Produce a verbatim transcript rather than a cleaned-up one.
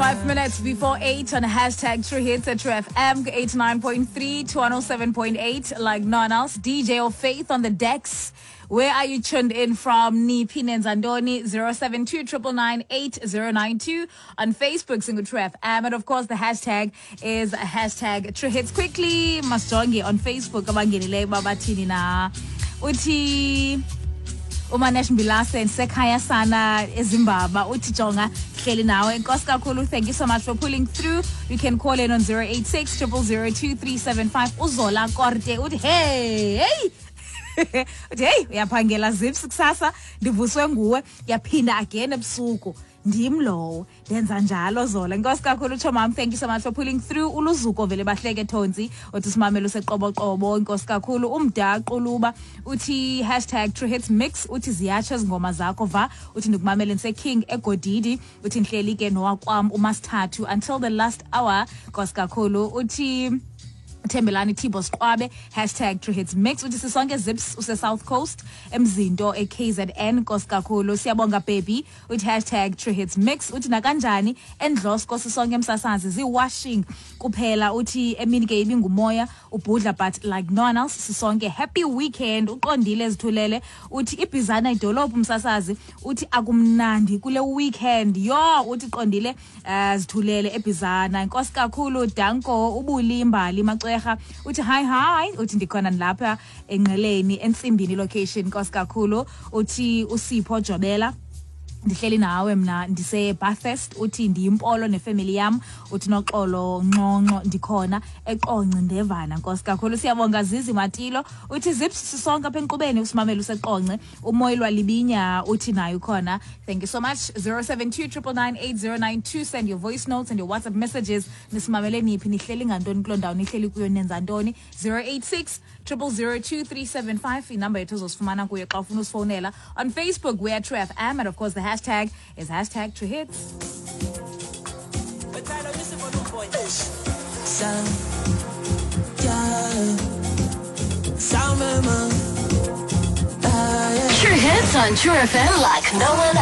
Five minutes before eight on hashtag True Hits at True F M eighty-nine point three to one oh seven point eight, like none else. D J of Faith on the decks. Where are you tuned in from? Niphi nenzantoni? Zero seven two triple nine eight zero nine two on Facebook, Single True F M, and of course the hashtag is hashtag True Hits. Quickly, masijonge on Facebook abangenileyo babathini na uthi uManesh Mbilase ndisekhaya sana eZimbabwe uthi jonga hleli nawe. Enkosi kakhulu, thank you so much for pulling through. You can call in on zero eight six triple zero two three seven five. Uzola Korte uthi hey hey uthi hey uyaphangela Zips kusasa ndivuswe nguwe yaphinda again ebusuku ndim lowo ndenza njalo Zola. Enkosi kakhulu Chomam, thank you so much for pulling through. Uluzuko vele bahleke Thonzi uthi simamele useqoboqobo. Enkosi kakhulu. Umdaquluba uthi hashtag True Hits Mix uthi ziyatsho izingoma zakho va uthi ndikumamele ndise King eGodidi uthi ndihleli ke nowakwam umasithathu until the last hour. Enkosi kakhulu. Uthi Thembelani Thibo Siqwabe hashtag True Hits Mix uthi sisonke Zips use South Coast emzinto e K Z N. Nkosi kakhulu siyabonga baby uthi hashtag True Hits Mix uthi nakanjani endlosko sisonke emsasazi zi washing kuphela uthi emini ke ibingumoya ubhudla but like no one else sisonke happy weekend. Uqondile ezithulele uthi ibhizana idolophu umsasazi uthi akumnandi kule weekend yo uthi qondile zithulele ebhizana. Nkosi kakhulu danko ubulimbali macwe uthi hi hi uthi ndikhona lapha enqeleni ensimbini location. Nkosi kakhulu. Uthi uSipho Jobela ndihleli nawe mna ndise Bathurst uthi ndiyimpolo nefamily yam uthi noxolo nxonxo ndikhona eqonce ndevana. Nkosi kakhulu siyabonga. Zizi Matilo uthi Zips sisonke apha enkqubeni usimamele useqonce. Umoyilwa Libinya uthi nayo ukhona. Thank you so much. Zero seven two triple nine eight zero nine two. Send your voice notes and your WhatsApp messages. Nisimamele niphi nihleli ngantoni kuloo ndawo nihleli kuyo nenza ntoni? Zero eight six triple zero two three seven five inamba yethu ozosifumana kuyo xa ufuna usifowunela. On Facebook we are True F M and of course the hashtag is hashtag True Hits. True Hits on True F M like no one else.